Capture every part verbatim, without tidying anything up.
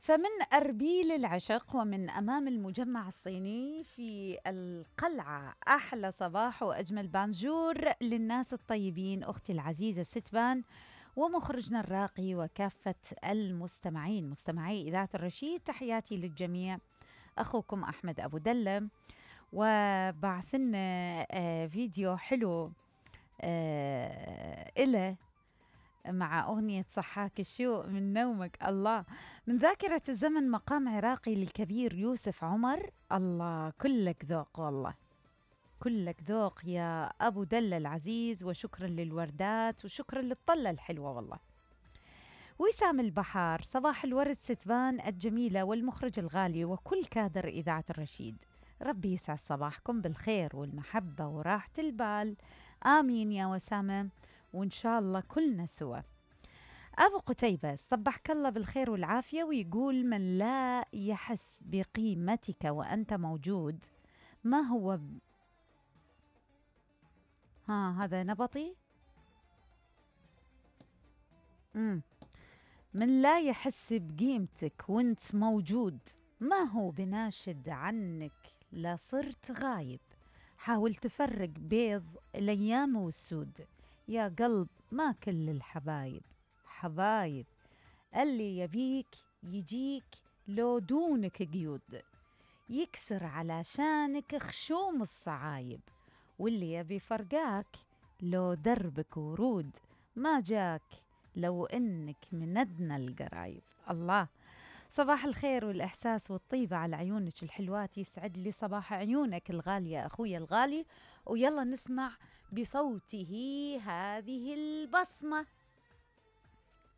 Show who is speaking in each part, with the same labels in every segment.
Speaker 1: فمن أربيل العشق ومن أمام المجمع الصيني في القلعة، أحلى صباح وأجمل بانجور للناس الطيبين. أختي العزيزة ستبان ومخرجنا الراقي وكافة المستمعين مستمعي إذاعة الرشيد، تحياتي للجميع. أخوكم أحمد أبو دلة، وبعثنا آه فيديو حلو آه إله مع أغنية صحاك الشوق من نومك. الله، من ذاكرة الزمن، مقام عراقي للكبير يوسف عمر. الله، كلك ذوق والله، كلك ذوق يا أبو دلة العزيز، وشكرا للوردات وشكرا للطلة الحلوة والله. وسام البحار، صباح الورد ستبان الجميلة والمخرج الغالي وكل كادر إذاعة الرشيد. ربي يسعد صباحكم بالخير والمحبة وراحة البال، آمين يا وسامة، وإن شاء الله كلنا سوا. أبو قتيبة، صبحك الله بالخير والعافية، ويقول: من لا يحس بقيمتك وأنت موجود ما هو ب... ها هذا نبطي. مم. من لا يحس بقيمتك وانت موجود ما هو بناشد عنك لا صرت غايب. حاول تفرق بيض الأيام والسود، يا قلب ما كل الحبايب حبايب. اللي يبيك يجيك لو دونك قيود، يكسر علشانك خشوم الصعايب. واللي يبي فرقاك لو دربك ورود، ما جاك لو إنك من أدنى القرايب. الله، صباح الخير والإحساس والطيبة على عيونك الحلوات، يسعد لي صباح عيونك الغالية أخويا الغالي. ويلا نسمع بصوته هذه البصمة،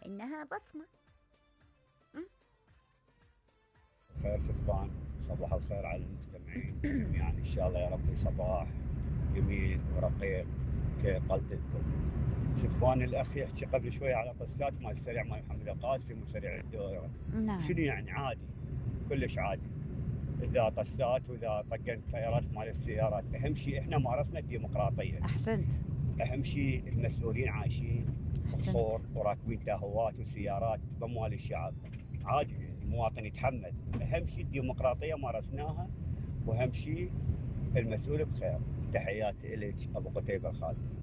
Speaker 1: إنها بصمة.
Speaker 2: خير ستبان، صباح الخير على المستمعين جميعا. إن شاء الله يا ربي صباح جميل ورقيق كقلدكم. ستبان الأخ يحكي قبل شوية على قصات مال السريع مال محمد القاسم وسريع الدورة.
Speaker 1: نعم.
Speaker 2: شنو يعني؟ عادي، كلش عادي. إذا طسات وإذا طقن تايرات مال السيارات، أهم شيء إحنا مارسنا الديمقراطية.
Speaker 1: أحسنت.
Speaker 2: أهم شيء المسؤولين عايشين بصور وراكبين تاهوات وسيارات بأموال الشعب. عادي، المواطن يتحمل. أهم شيء الديمقراطية مارسناها، وأهم شيء المسؤول بخير. تحياتي إليك أبو قتيبة الخالد.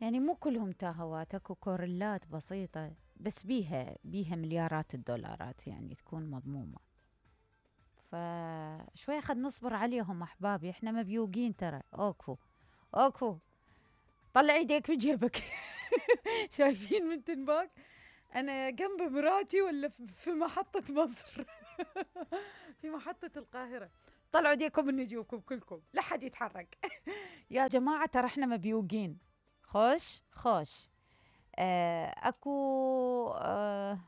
Speaker 1: يعني مو كلهم تاهوات، اكو كورلات بسيطة بس بيها بيها مليارات الدولارات، يعني تكون مضمومة. فشوية خد نصبر عليهم أحبابي، احنا مبيوقين ترى. اوكفو اوكفو، طلع ايديك بجيبك. شايفين من تنباك انا جنب مراتي ولا في محطة مصر؟ في محطة القاهرة. طلعوا ايديكم من نجيبكم كلكم، لا حد يتحرك. يا جماعة ترى احنا مبيوقين. خوش خوش. آه اكو آه